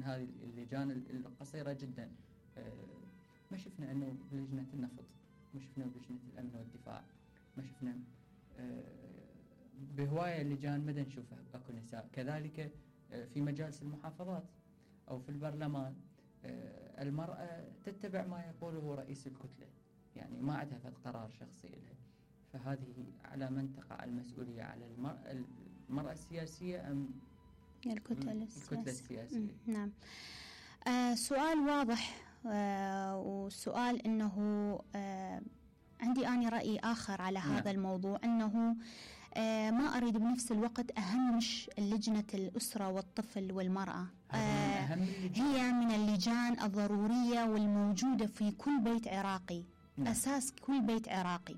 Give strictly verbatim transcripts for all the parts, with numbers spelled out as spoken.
من هذه اللجان القصيرة جدا. ما شفنا أنه بلجنة النفط، ما شفنا بلجنة الأمن والدفاع، ما شفنا بهواية لجان مدى نشوفها أكو نساء. كذلك في مجالس المحافظات أو في البرلمان المرأة تتبع ما يقوله رئيس الكتلة، يعني ما عندها قرار شخصي لها. فهذه على من تقع المسؤولية، على المرأة, المرأة السياسية أم الكتلة السياسية, الكتلة السياسية؟ نعم. آه سؤال واضح، آه وسؤال أنه آه عندي أنا رأي آخر على نعم. هذا الموضوع، أنه آه ما أريد بنفس الوقت أهمش لجنة الأسرة والطفل والمرأة. آه هي من اللجان الضرورية والموجودة في كل بيت عراقي. نعم. أساس كل بيت عراقي.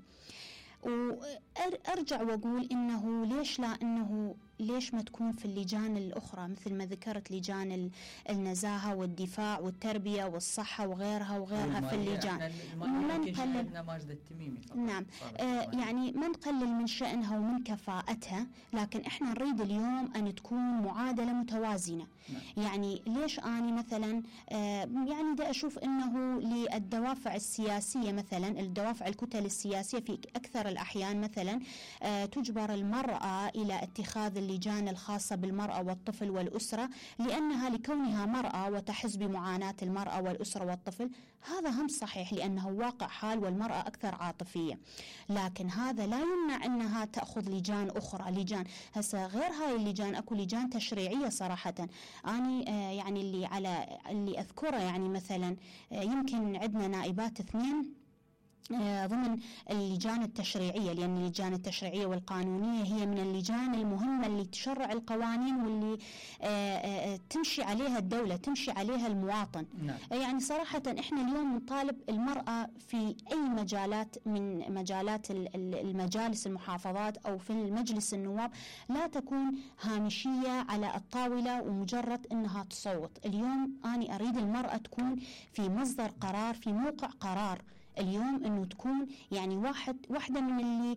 وأرجع وأقول إنه ليش لا إنه ليش ما تكون في اللجان الأخرى، مثل ما ذكرت لجان النزاهة والدفاع والتربية والصحة وغيرها وغيرها في اللجان. ما نقلل ماجد التميمي. نعم. آه يعني ما نقلل من شأنها ومن كفاءتها، لكن إحنا نريد اليوم أن تكون معادلة متوازنة. نعم. يعني ليش أنا مثلا آه يعني دا أشوف إنه للدوافع السياسية، مثلا الدوافع الكتل السياسية في أكثر الأحيان مثلا آه تجبر المرأة إلى اتخاذ اللجان الخاصة بالمرأة والطفل والأسرة، لأنها لكونها مرأة وتحس بمعاناة المرأة والأسرة والطفل. هذا هم صحيح لأنه واقع حال، والمرأة أكثر عاطفية، لكن هذا لا يمنع أنها تأخذ لجان أخرى. لجان هسه غير هاي اللجان أكو لجان تشريعية صراحة. أنا آه يعني اللي على اللي أذكره يعني مثلا آه يمكن عندنا نائبات اثنين ضمن اللجان التشريعية، لأن اللجان التشريعية والقانونية هي من اللجان المهمة اللي تشرع القوانين واللي تمشي عليها الدولة، تمشي عليها المواطن. نعم. يعني صراحة إحنا اليوم نطالب المرأة في أي مجالات من مجالات المجالس المحافظات أو في المجلس النواب لا تكون هامشية على الطاولة ومجرد أنها تصوت. اليوم أنا أريد المرأة تكون في مصدر قرار، في موقع قرار. اليوم انه تكون يعني واحد واحده من اللي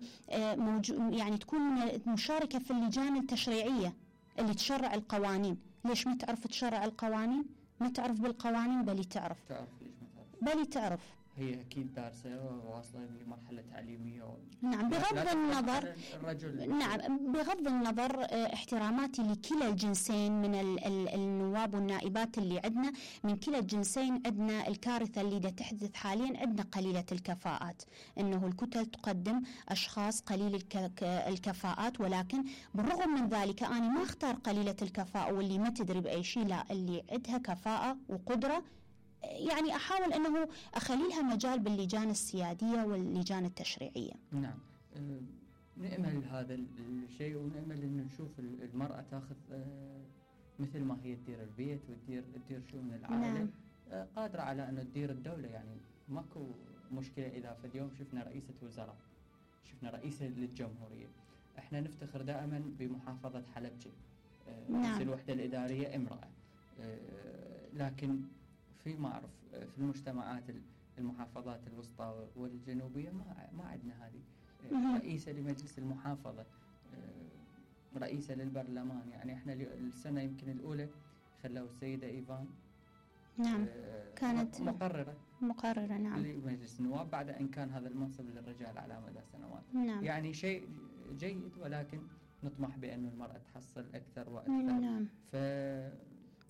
موجود، يعني تكون مشاركه في اللجان التشريعيه اللي تشرع القوانين. ليش ما تعرف تشرع القوانين؟ ما تعرف بالقوانين، بل تعرف تعرف ليش ما تعرف بل تعرف هي أكيد دارسة وواصلة لمرحلة تعليمية و... نعم. بغض النظر الرجل نعم بغض النظر احتراماتي لكلا الجنسين من ال ال النواب والنائبات اللي عندنا، من كلا الجنسين عندنا الكارثة اللي دا تحدث حاليا، عندنا قليلة الكفاءات. إنه الكتل تقدم أشخاص قليل الك الكفاءات، ولكن بالرغم من ذلك أنا ما أختار قليلة الكفاءة واللي ما تدري بأي شيء، لا، اللي عندها كفاءة وقدرة يعني أحاول أنه أخليها مجال باللجان السيادية واللجان التشريعية. نعم. أه نأمل هذا الشيء، ونأمل أنه نشوف المرأة تأخذ أه مثل ما هي تدير البيت وتدير تدير شؤون العائلة. نعم. أه قادرة على أنه تدير الدولة. يعني ماكو مشكلة إذا في اليوم شفنا رئيسة وزراء، شفنا رئيسة للجمهورية. احنا نفتخر دائما بمحافظة حلبجة. أه نعم. رئيس الوحدة الإدارية امرأة. أه لكن في ما أعرف في المجتمعات المحافظات الوسطى والجنوبية ما ما عندنا هذه. رئيسة لمجلس المحافظة، رئيسة للبرلمان. يعني احنا السنة يمكن الأولى خلوا السيدة إيفان نعم كانت مقررة مقررة نعم لمجلس النواب، بعد أن كان هذا المنصب للرجال على مدى سنوات. نعم. يعني شيء جيد، ولكن نطمح بأن المرأة تحصل أكثر وأكثر. نعم. ف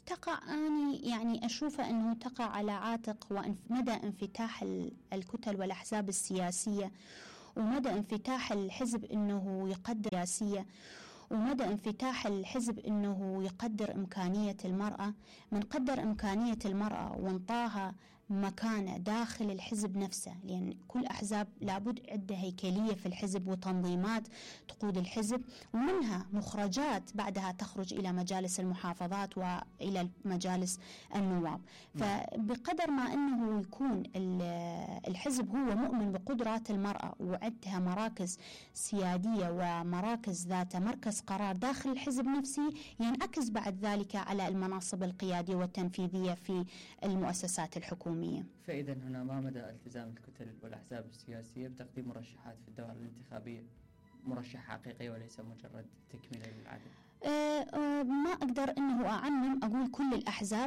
تقع أني يعني أشوفه أنه تقع على عاتق ومدى انفتاح الكتل والأحزاب السياسية، ومدى انفتاح الحزب أنه يقدر سياسية، ومدى انفتاح الحزب أنه يقدر إمكانية المرأة. من قدر إمكانية المرأة وانطاها مكانة داخل الحزب نفسه، لأن كل أحزاب لابد عندها هيكلية في الحزب وتنظيمات تقود الحزب، ومنها مخرجات بعدها تخرج إلى مجالس المحافظات وإلى مجالس النواب. فبقدر ما أنه يكون الحزب هو مؤمن بقدرات المرأة وعندها مراكز سيادية ومراكز ذات مركز قرار داخل الحزب نفسه، ينعكس بعد ذلك على المناصب القيادية والتنفيذية في المؤسسات الحكومية. فإذا هنا ما مدى التزام الكتل والأحزاب السياسية بتقديم مرشحات في الدوائر الانتخابية، مرشح حقيقي وليس مجرد تكملة للعدد؟ أه أه ما أقدر أنه أعمم أقول كل الأحزاب،